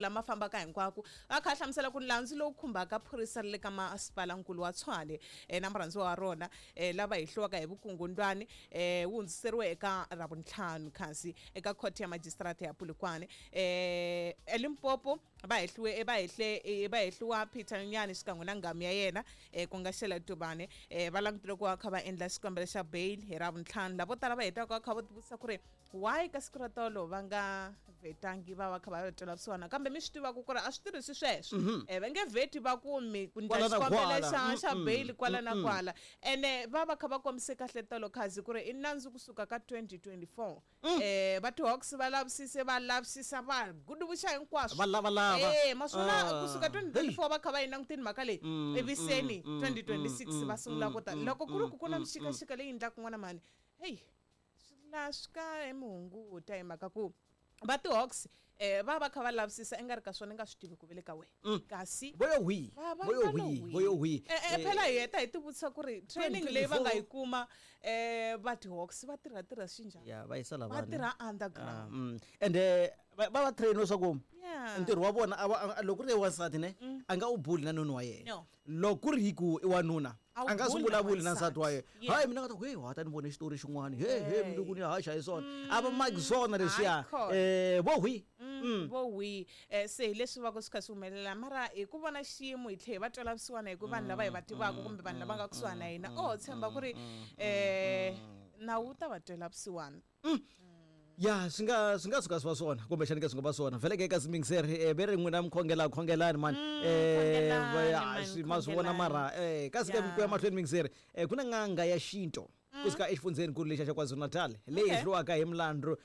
Lama fambaka hinkwako a kha a hlamusela ku nandzu lowu khumbaka phorisa ra le ka masipalankulu wa Tshwane na murhandziwa wa rona lava hehliwaka hi vukungundwani wu hundziseriwe eka Ravuntlhanu kasi eka khoto ya majisitarata ya Polokwane eLimpopo. Va hehliwe va hehle va hehliwa Peter Nonyane xikan'we na nghamu ya yena ku nga Shela Tubane va langutele ku va kha va endla xikombelo xa bail hi Ravuntlhanu. Lavo tala va hetaka va kha va tivutisa ku ri why ka siku ra tolo va nga vhetangi va va kha va twela vusiwana, kambe mi swi tivaka ku ri a swi tirhisi sweswo. Va nge vheti va ku mi ku ndla Kwala na xikombelo kwala. xa bail kwala na kwala, ene va va kha va kombise kahle tolo khazi ku ri i nandzu kusuka ka 2024. Va ti-Hawks va lavisise, va lavisisa, va guduvuxa hinkwaswo. Va lavalava. Ma swi vona kusuka 2024 va kha va yi langutini mhaka leyi, ivi seni 2026 va sungula ku ta. Loko ku ri ku ku na mixikaxika leyi endlaka n'wana mhani, heyi, swi la swi ka mi hunguta hi mhaka ku va ti-Hawks va va kha va lavisisa i nga ri ka swona i nga swi tivi ku ve le ka wena kasi Vo yo hwi, va va vo yo va lo hwi, hwi. Vo yo hwi. Phela hi heta hi tivutisa ku ri training leyi va nga yi 2024. kuma va ti-Hawks va tirha tirha xinjhani? Ya, va yisa Va lavani. tirha underground. Ende va train leswaku ntirho wa vona a va, a, loko ku ri wansati ne, a nga u buli na noni wa yena. No. Loko ku ri hi ku i wanuna, A wu a nga swi buli na vulavuli na nsati wa wansati. yena. Yeah. Hayi, mina nga ta ku, hey, wa ta ni vone xitori xin'wana. He, he, Hey. mundzuku ni haxa hi swona. A va maki swona leswiya. Hayi khona. Vo hwi. Vo hwi. Se hi leswi va ku swi kha swi humelela, mara hi ku vona xiyimo hi tlhe hi va twela vusiwana hi ku vanhu lava hi va tivaka kumbe vanhu lava nga kusuhani na hina, oh, tshemba ku ri nawu wu ta va twela vusiwana. Ya, swi nga suka swi va swona, kumbexani ke swi nga va swona vhele ke ka simingseri ve ri n'wina mi khongela, khongelani mani. Khongelani, Ya, man, swi ma swi vona khongelani. mara kasi ke ku ya mahlweni mingiseri ku na n'anga ya xinto kusuka exifundzheni lexa xa KwaZulu-Natal leyi hehliwaka hi milandzu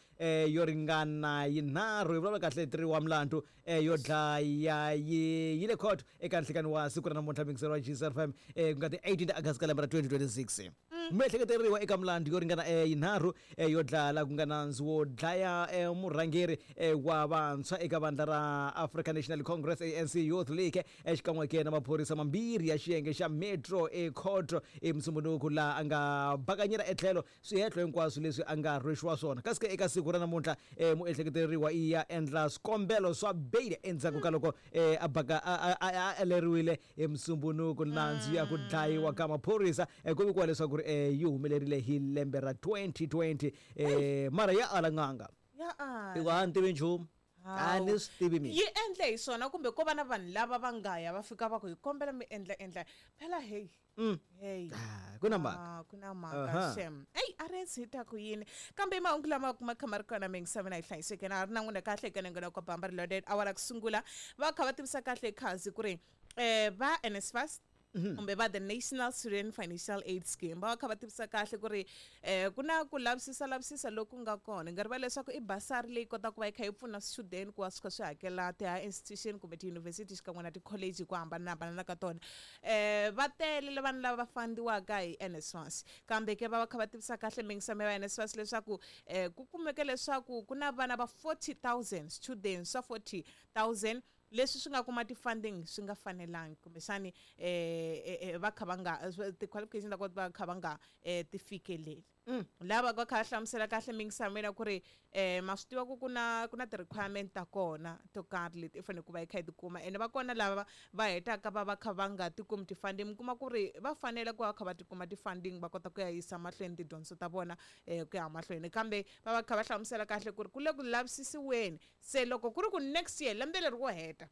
yo ringana yinharhu, hi vulavula kahle 3 wa milandzu yo dlaya yi le court eka nhlikani wa siku ra namuntlha mingiseri wa GCFM ku nga ti 18 ta August ka lembe ra 2026. Miehleketeriwa eka milandzu yo ringana yinharhu yo dlaya la ku nga nandzu wo dlaya murhangeri wa vantshwa eka vandla ra African National Congress ANC Youth League xikan'we ke na maphorisa mambirhi ya xiyenge xa Metro ekhoto eMusumbhunuku laha a nga bakanyela etlhelo swihehlo hinkwaswo leswi a nga rhwexiwa swona. Kasi ke eka siku ra namuntlha muehleketeriwa i ya endla swikombelo swa bail endzhaku ka loko a baka a aleriwile hi Musumbhunuku. Nandzu ya ku dlayiwa ka maphorisa ku vikiwa leswaku ri yi humelerile hi lembe ra 2020 mara ya ala n'anga. Ya ala. Hikuva a ni tivi nchumu. A ni swi tivi mina. Yi endle hi swona kumbe ko va na vanhu lava va nga ya va fika va ku hi kombela mi endla endla phela, hey. Hey. Ah, ku na mhaka. Ah, ku na mhaka shem. Ey, a ri hi ta ku yini, kambe mahungu lama kuma kha ma ri kona mingisaveni a yi hlayiseke na ri na n'wina kahle eka nengena kwa bamba ri loaded awara ku sungula va kha va tivisa kahle khazi ku ri va NSFAS kumbe va the National Student Financial Aid Scheme va kha va tivisa kahle ku ri ku na ku lavisisa lavisisa loku nga kona. Nga rivala leswaku i basari leyi kotaka ku va yi kha yi pfuna swichudeni ku va swi kha swi hakela ti-higher institution kumbe tiyunivhesiti xikan'we na ti-college hi ku hambanahambana ka tona. Va tele le vanhu lava va fandiwaka hi NSFAS, kambe ke va va kha va tivisa kahle mingisamo ya NSFAS leswaku ku kumeke leswaku ku na vana va 40,000 students swa 40,000 leswi swi nga kuma ti-funding swi nga fanelangi, kumbexani va kha va nga ti-qualification ta kona va kha va nga ti fikeleli. Lava va kha va hlamusela kahle mingisamo ku ri ma swi tiva ku ku na ti-requirement ta kona to karhi leti i fanele ku va yi kha yi tikuma, ene va kona lava va hetaka va va kha va nga ti kumi ti-funding, mi kuma ku ri va fanele ku va kha va tikuma ti-funding va kota ku ya yisa mahlweni tidyondzo ta vona ku ya mahlweni, kambe va va kha va hlamusela kahle ku ri ku le ku lavisisiweni. Se loko ku ri ku next year, lembe leri wo heta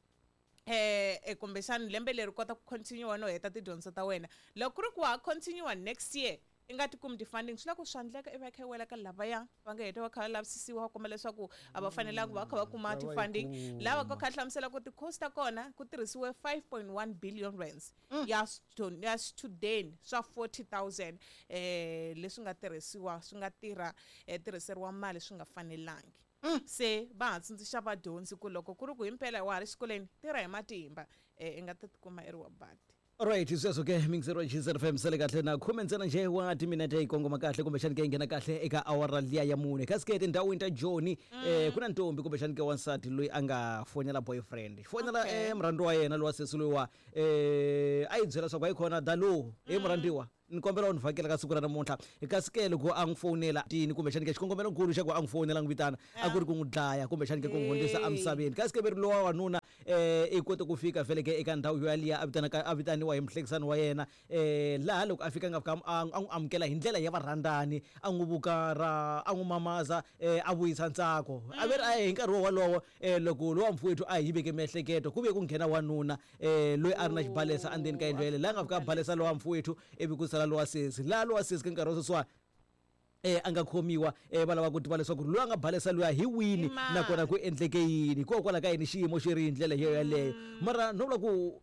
kumbexani lembe leri kota ku continue no heta tidyondzo ta wena, loko ku ri ku wa ha continue next year i nga ti kumi ti-funding, swi la ku swa endleka i va i kha i wela ka lavaya va nga heta va kha va lavisisiwa va komba leswaku a va fanelangi va kha va kuma Va yi ti-funding. Kuma. Lava va kha hlamusela ku ti-cost ta kona ku tirhisiwe 5.1 billion rands ya swichudeni swa 40,000 leswi nga tirhisiwa swi nga tirha tirhiseriwa mali swi nga fanelangi. Se va ha tsundzuxa vadyondzi ku loko ku ri ku himpela wa ha ri xikolweni, tirha hi matimba i nga ta tikuma i ri wa badi. Alright, sweswo ke mingisero wa GZFM sele kahle na khume ntsena nje wa timinete yi kongoma kahle kumbexani ke yi nghena kahle eka awara liya ya mune. Kasi ke etindhawini ta Joni ku na ntombi kumbexani ke wansati loyi a nga fonela boyfriend, fonela murhandziwa wa yena lowa sesi loyi wa a yi byela leswaku hayi khona dalo he murhandziwa. Ni kombela u ni vhakela ka siku ra namuntlha. Kasi ke loko a n'wi fowunela tini kumbexani ke xikongomelonkulu xa ku a n'wi fowunela a n'wi vitana a ku ri ku n'wi dlaya kumbexani ke ku n'wi hundzisa emisaveni. Kasi ke ve ri lowa wanuna i kote ku fika vhele ke eka ndhawu yo yaliya a vitanaka a vitaniwa hi muhlekisani wa yena laha loko a fika a nga fika a n'wi amukela hi ndlela ya varhandzani, a n'wi vukarha, a n'wi mamaza a vuyisa ntsako. A ve ri a hi nkarhi wo walowo loko lowa mfowethu a hi veke miehleketo ku vuye ku nghena wanuna loyi a ri na xibalesa endzeni ka yindlu yeleyo, laha a nga fika a balesa lowa mfowethu ivi ku sala lowa sesi. Laha lowa sesi ka nkarhi wa sweswiwani a nga khomiwa va lava ku tiva leswaku loyi a nga balesa luya hi wini nakona ku endleke yini, hikokwalaho ka yini xiyimo xi ri hi ndlela yo yaleyo. Mara no vula ku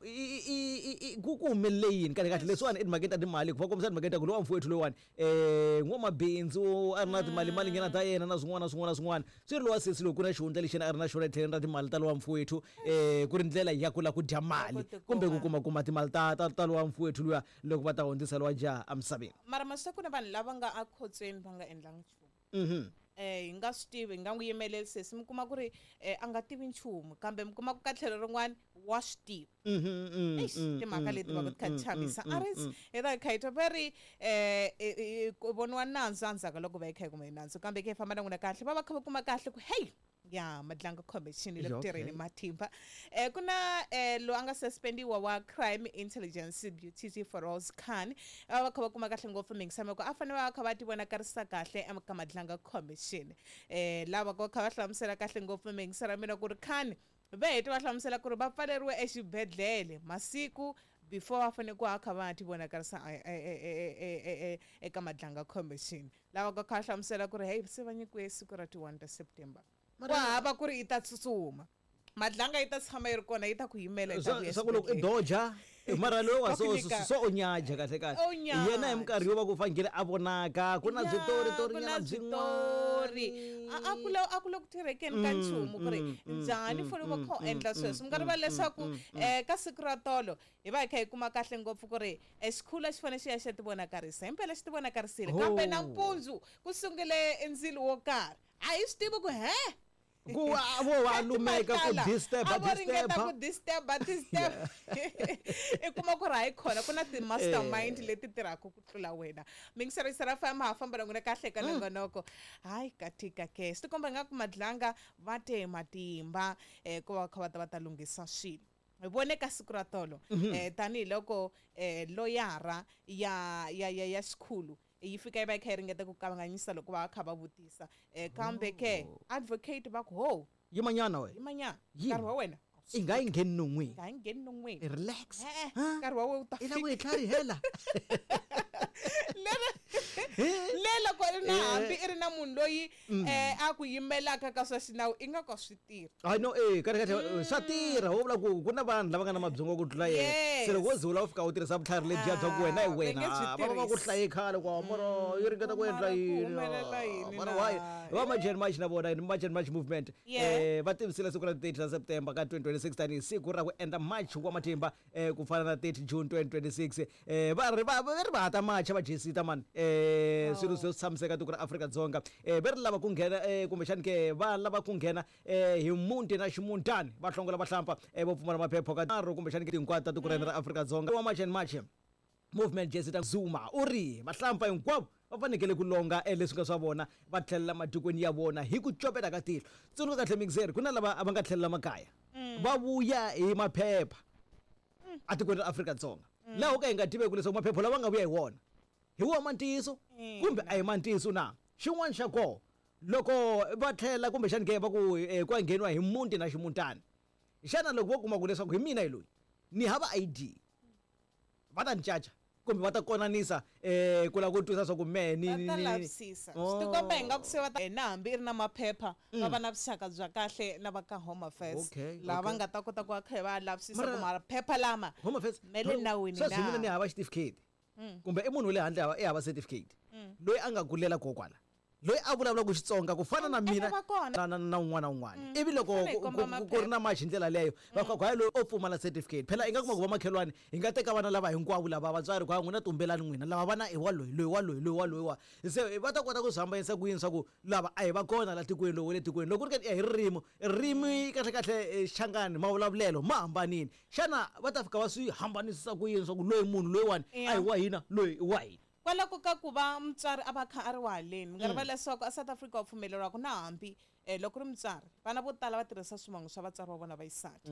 ku ku humelele yini kahle kahle leswiwani etimhakeni ta timali ku va kombisa timhakeni ta ku lowa mfowethu loyiwani n'wamabindzu a ri na timali nyana ta yena na swin'wana na swin'wana na swin'wana swi ri lowa sesi loko ku na xihundla lexi yena a ri na xona etlhelweni ra timali ta lowa mfowethu ku ri ndlela ya ku lava ku dya mali kumbe ku kuma kuma timali ta ta ta lowa mfowethu luya loko va ta hundzisa lowa jaha emisaveni. Mara ma swi tiva ku na vanhu lava nga ekhotsweni va nga endlanga nchumu. Hi nga swi tivi hi nga n'wi yimeleli sesi mi kuma ku ri a nga tivi nchumu kambe mi kuma ku ka tlhelo rin'wana wa swi tiva. Eish, timhaka leti va ku ti kha ti chavisa a ri hi ta kha hi twa va ri ku voniwa nandzu endzhaku ka loko va yi kha yi kuma nandzu kambe ke hi famba na n'wina kahle va va kha va kuma kahle ku hey ya Madlanga Commission yi le ku tirheni matimba. Ku na loyi a nga suspendiwa wa Crime Intelligence Beauty Feroz Khan va va kha va kuma kahle ngopfu mingisamo ku a fanele va va kha va ti vonakarisa kahle ka Madlanga Commission. Lava va kha va hlamusela kahle ngopfu mingiso ra mina ku ri Khan va hete va hlamusela ku ri va pfaleriwe exibedhlele masiku before va fanele ku va kha va ti vonakarisa eka Madlanga Commission. Lava va kha va hlamusela ku ri hey se va nyikiwe siku ra ti 1 ta September. Ku hava ku ri yi ta tsutsuma. Madlanga yi ta tshama yi ri kona yi ta ku yimela yi ta vuya Swa ku loko i doja mara loyi wa so so u nyaja kahle kahle. Yena hi minkarhi yo va ku fanekele a vonaka ku na switori tori nyana byin'wana. A ku le a ku le ku tirhekeni ka nchumu ku ri njhani fole va kha u endla sweswo. Mi nga rivali leswaku ka siku ra tolo hi va hi kha hi kuma kahle ngopfu ku ri xikhulu a xi fanele xi ya xi ya tivonakarisa. Himpela xi tivonakarisile kambe nampundzu ku sungule ndzilo wo karhi. A hi swi tivi ku he Ku a vo va lumeka ku disturb a vo ringeta ku disturb disturb i kuma ku ri hayi khona ku na ti-mastermind leti tirhaka ku tlula wena. Mingisero yisa ra famba ha famba na n'wina kahle ka nongonoko. Hayi ka tika ke swi tikomba ingaku Madlanga va te matimba ku va kha va ta va ta lunghisa swilo. Hi vone ka siku ra tolo tanihiloko loyara ya ya ya ya xikhulu yi fika yi va yi kha yi ringeta ku kanganyisa loko va kha va vutisa kambe ke advocate va ku ho yimanyana we yimanyana nkarhi wa wena i nga yi ngheni non'wini nga yi ngheni non'wini relax nkarhi wa wena wu ta i lava ku hi tlharihela le loko i ri na hambi i ri na munhu loyi a ku yimelaka ka swa xinawu i nga ka swi tirha. Hayi no kahle kahle swa tirha wo vula ku ku na vanhu lava nga na mabyongo ku tlula yena se loko wo ze u lava ku fika u tirhisa vutlhari lebyiya bya ku wena hi wena va va va ku hlaye khale kwa mara yi ringeta ku endla yini mara why va March and March na vona March and March movement va tivisile siku ra 30 ra September ka 2026 tanihi siku ra ku endla march wa matimba ku fana na 30 June 2026 va ri va va ri va ha ta macha va jesita mani swilo swo tshamiseka tiko ra Afrika-Dzonga va ri lava ku nghena kumbexani ke va lava ku nghena hi muti na ximuntani va hlongola vahlampfa vo pfumala maphepha ka nharhu kumbexani ke hinkwato ta tiko ra hina ra Afrika-Dzonga wa March and March movement jesita Zuma u ri vahlampfa hinkwavo va fanekele ku longa leswi nga swa vona va tlhelela matikweni ya vona hi ku copeta ka tihlo. Tsundzuka kahle mixer ku na lava va nga tlhelela makaya va vuya hi maphepha atikweni ra Afrika-Dzonga laha ho ka hi nga tiveki leswaku maphepha lawa nga vuya hi wona hi wona ma ntiyiso kumbe a hi ma ntiyiso na. Xin'wana xa koho loko va tlhela kumbexani ke va ku ku ya ngheniwa hi muti na ximutana xana loko vo kuma ku leswaku hi mina hi loyi ni hava I_D va ta ni caca kumbe va ta konanisa ku lava ku twisa swa ku mehe ni Va ta lavisisa. Swi tikomba ingaku se va ta na hambi i ri na maphepha va va na vuxaka bya kahle na va ka Home Affairs laha va nga ta kota ku va kha va lavisisa ku maphepha lama Home Affairs ma le nawini sweswi mina ni hava xitifiketi kumbe i munhu wa le handle i hava certificate loyi a nga kulela kona kwala. Loyi a vulavulaka Xitsonga ku fana na Ene mina va kona. na un'wana na un'wana, ivi loko Fanele hi komba ku ri na match hi ndlela leyo, va ku hayi, loyi o pfumala certificate. Phela i nga kuma ku vamakhelwani hi nga teka vana lava hinkwavo lava, vatswari ku hayi, n'wina tumbelani n'wina, lava vana i wa loyi, loyi wa loyi, loyi wa loyi wa. Se va ta kota ku swi hambanyisa ku yini swa ku lava a hi va kona la tikweni, lowu wa le tikweni? Loko ku ri ka hi ririmi, ririmi kahle kahle, Xichangani, mavulavulelo ma hambanile. Xana va ta fika va swi hambanisisa ku yini swa ku loyi munhu loyiwani a hi wa hina, loyi i wa hina? Kwalako ka ku va mutswari a va kha a ri wa haleni, mi nga rivali leswaku a South Africa wa pfumeleriwa ku na hambi loko ri mutswari, vana vo tala va tirhisa swivongo swa vatswari va vona va xisati.